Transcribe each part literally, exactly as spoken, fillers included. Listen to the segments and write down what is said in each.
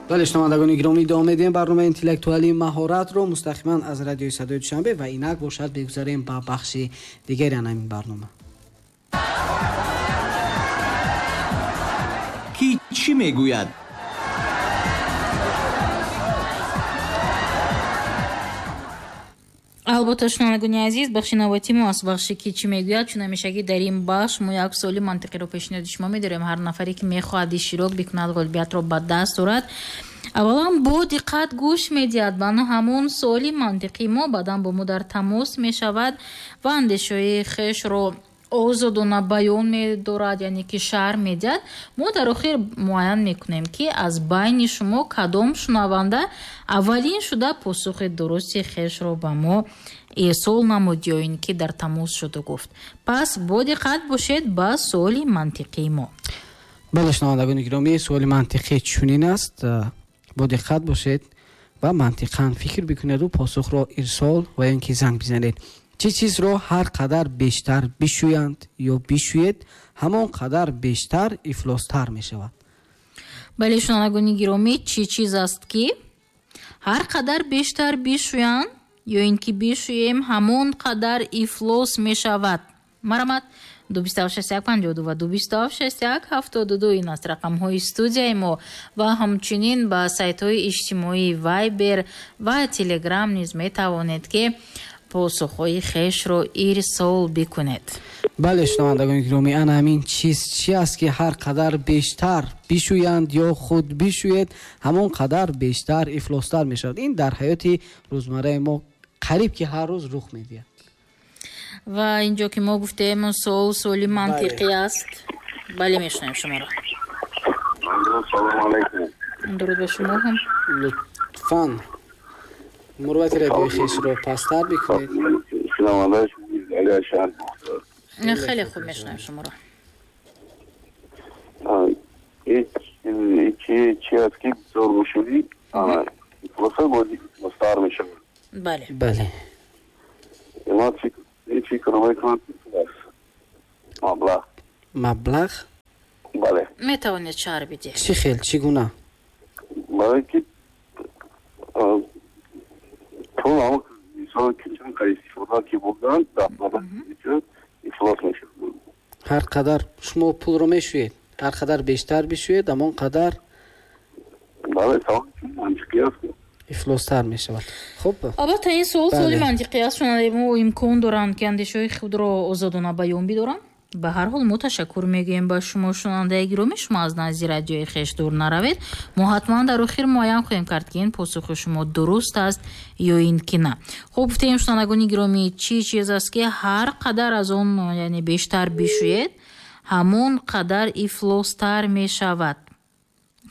Бале, шунавандагони гиромӣ, идома медиҳем барномаи интеллектуалии маҳоратро мустақиман аз радиои Садои Душанбе ва инак бошад бигузарем ба бахши дигари ҳамин барнома. Ки чӣ мегӯяд? Албатта, шунавандагони азиз, бахши навбатии мо аст бахше ки чӣ мегӯяд, чун ҳамешагӣ дар ин бахш мо як суоли мантиқиро пешниҳоди шумо медорем. Ҳар нафаре ки мехоҳад иштирок бикунад, ғолибиятро ба даст орад, аввалан бо диққат гӯш медиҳад ба ҳамон суоли мантиқии мо, баъдан бо мо дар тамос мешавад ва андешаҳои хешро озодона баён медорад, яъне ки шарҳ медиҳад. Мо дар охир муайян мекунем, ки аз байни шумо кадом шунаванда аввалин шуда посухи дурусти хешро ба мо ирсол намуд ё ин ки дар тамос шуду гуфт. Пас бо диққат бошед ба суоли мантиқии мо. Бале, шунавандагони гиромӣ, суоли мантиқӣ чунин аст. Бо диққат бошед ва мантиқан фикр бикунеду посухро ирсол ва ё ин ки занг бизанед. Чӣ чизро ҳар қадар бештар бишӯянд ё бишӯед, ҳамон қадар бештар ифлостар мешавад? Бале, шунавандагони гиромӣ, чӣ чиз аст ки ҳар қадар бештар бишӯянд ё ин ки бишӯем, ҳамон қадар ифлос мешавад? Марамат, ду бисту ҳафт шасту як панҷоҳу ду ва ду бисту ҳафт шасту як ҳафтоду ду ин аст рақамҳои студияи мо ва ҳамчунин ба сайтҳои иҷтимоии Вайбер ва Телеграм низ метавонед ки посухҳои хешро ирсол бикунед. Бале, шунавандагони гиромӣ, ана ҳамин чиз чи аст ки ҳар қадар бештар бишӯянд ё худ бишӯед, ҳамон қадар бештар ифлостар мешавад. Ин дар ҳаёти рӯзмарраи мо қариб ки ҳар рӯз рух медиҳад. Ва инҷо ки мо гуфтем, суол суоли мантиқӣ аст. Бале, мешунавем шуморо. Салому алайкум. Дуруд ба шумо ҳам. Лутфан мурвати радиои хешро пасттар бикунед. Хеле хуб мешунавем шуморо. Чи аст ки бисёр бишӯӣ, ифлостар мешавад? Бале. Бале. Ман фикр мекунам ки пул аст. Маблағ. Маблағ? Бале. Метавонед шарҳ бидиҳед? Чӣ хел, чӣ гуна? Барои ки пул ҳамон инсон ки чанд қадр истифода ки бурданд, ифлос мешавад. Ҳар қадар шумо пулро мешӯед, ҳар қадар бештар бишӯед, ҳамон қадар бале, савол мантиқӣ аст, ифлостар мешавад. Хуб, албатта ин суол суоли мантиқӣ аст. Шунавандаи мо имкон доранд ки андешаҳои худро озодона баён бидоранд. Ба ҳар ҳол мо ташаккур мегӯем ба шумо, шунавандаи гиромӣ. Шумо аз назди радиои хеш дур наравед. Мо ҳатман дар охир муайян хоҳем кард ки ин посухи шумо дуруст аст ё ин ки на. Хуб, гуфтем, шунавандагони гиромӣ, чӣ чиз аст ки ҳар қадар аз он, яъне бештар бишӯед, ҳамон қадар ифлостар мешавад?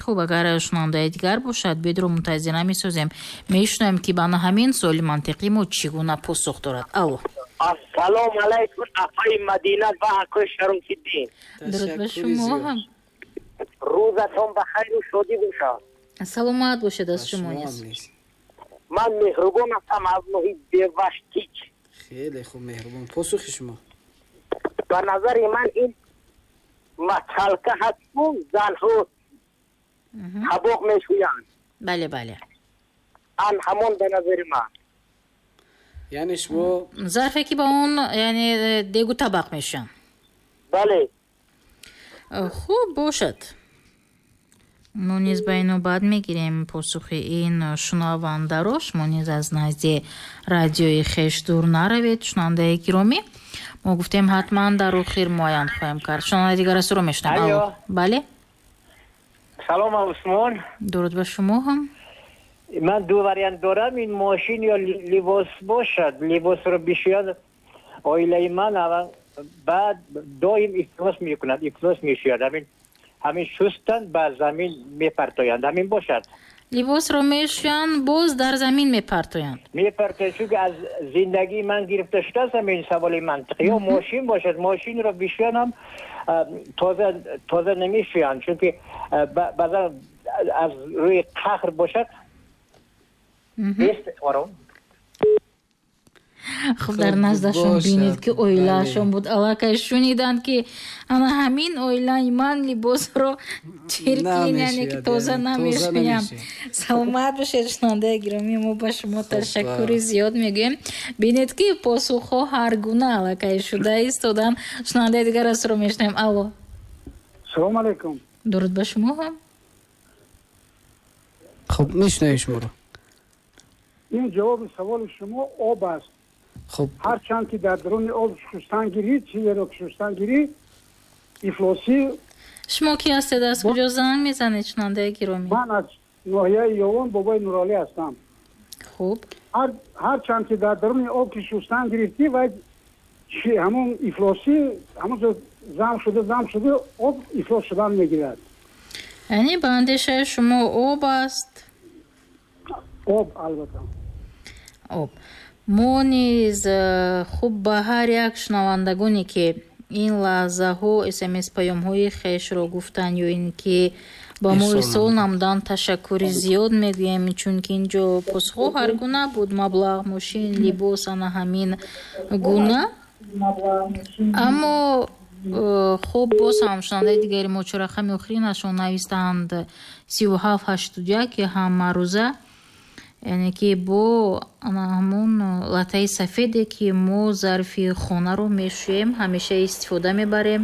Хуб, агар шунавандаи дигар бошад, бедро мунтазир намесозем. Мешунавем ки ба ҳамин суоли мантиқӣ мо чӣ гуна посух дорад. Алло. Ассалому алайкум, апаи Мадина ва акои Шарофиддин. Дуруд ба шумо ҳам. Рӯзатон ба хайру шодӣ бошад. Саломат бошед аз шумо низ. Ман Меҳрубон ҳастам аз ноҳияи Беваштич. Хеле хуб, Меҳрубон, посухи шумо? Ба назари ман ин маталка ҳаст, занҳо табоқ мешӯянд. Бале, бале. Ан ҳамон ба назари ман. Яъне шумо зарфе ки ба он, яъне дегу табақ мешаванд. Бале. Хуб бошад. Мо низ ба ин навбат мегирем посухи ин шунавандаро. Шумо низ аз назди радиои хеш дур наравед, шунавандаи гиромӣ. Мо гуфтем ҳатман дар охир муайян хоҳем кард. Шунавандаи дигар аз ӯро мешунавем. Бале. Салом, Усмон. Дуруд ба шумо ҳам. Ман ду вариант дорам, ин мошин ё либос бошад. Либосро бишӯяд оилаи ман, баъд доим ифлос мекунад, ифлос мешӯяд. Ҳамин ҳамин шустан ба замин мепартоянд, ҳамин бошад. Либосро мешӯянд, боз дар замин мепартоянд. Мепартоянд, чунки аз зиндагии ман гирифта шудааст ҳамин саволи мантиқӣ. Ё мошин бошад, мошинро бишӯянд ҳам тоза тоза намешӯянд, чунки баъзан аз рӯи қаҳр бошад. Нест ором. Хуб, дар наздашон бинед, ки оилаашон буд, аллакай шуниданд, ки ана ҳамин оилаи ман либосро чиркин, яъне ки тоза намешӯям. Саломат бошед, шунавандаи гиромӣ, мо ба шумо ташаккури зиёд мегӯем. Бинед, ки посухҳо ҳар гуна аллакай шуда истоданд. Шунавандаи дигар асро мешунавем. Алло. Салому алайкум. Дуруд ба шумо ҳам. Хуб, мешунавем шуморо. Ин ҷавоби саволи шумо об аст. Хуб, ҳарчанд ки дар даруни об шустан гирӣ, чизеро ки шустан гирӣ, ифлосӣ. Шумо ки ҳастед, аз куҷо занг мезанед, шунавандаи гиромӣ? Ман аз ноҳияи Ёвон, Бобои Нуролӣ ҳастам. Хуб. Ҳарчанд ки дар даруни об ки шустан гирифтӣ, вай ҳамон ифлосӣ ҳамон зам шуда, зам шуда, об ифлос шудан мегирад. Яъне ба андешаи шумо об аст? Об, албатта. Об. Мо низ, хуб, ба ҳар як шунавандагоне, ки ин лаҳзаҳо смс паёмҳои хешро гуфтанд ё ин ки ба мо ирсол намуданд, ташаккури зиёд мегӯем, чунки ин ҷо посухҳо ҳар гуна буд: маблағ, мошин, либос, ана ҳамин гуна. Аммо, хуб, боз ҳам шунавандаи дигари мо, чор рақами охиринашон навистанд сиву ҳафт ҳаштоду як, ки ҳамарӯза, яъне ки бо ҳамон латтаи сафеде, ки мо зарфи хонаро мешӯем, ҳамеша истифода мебарем,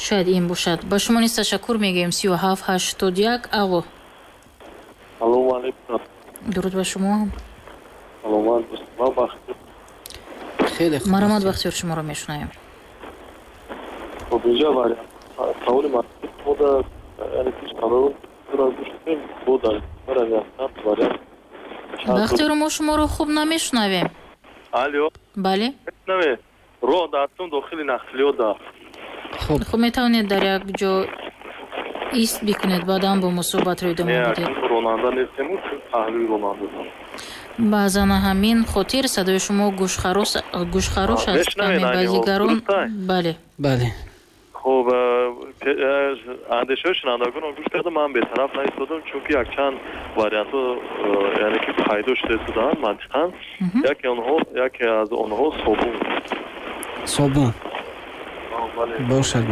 шояд ин бошад. Ба шумо низ ташаккур мегӯем. Сию ҳафт ҳаштоду як. Алло. Салому алейкум. Дуруд ба шумо. Саломат. Ман Бахтиёр. Хеле хуб. Марҳамат, Бахтиёр, шуморо мешунавем. Хуб, инҷа вариант саволи мода, яъне ки қарор гӯш кунем, бо дар вариант. Бахтиёр, мо шуморо хуб намешунавем. Алло. Бале. Мешунавед? Роҳ дастум, дохили нақлиёт да. Хуб. Хуб, метавонед дар як ҷо ист бикунед, баъдан бо мо суҳбатро идома бидиҳед. Ронанда нестему, паҳлӯи ронанда. Баъзан ҳамин хотир садои шумо гӯшхарош аст, каме ба дигарон. Бале. Бале. Хуб, андешаҳои шунавандагонро гӯш кардам, ман бетараф наистодам, чунки якчанд вариантҳо, яъне ки пайдо шуда истоданд мантиқан. Яке онҳо, яке аз онҳо собун. Собун бошад.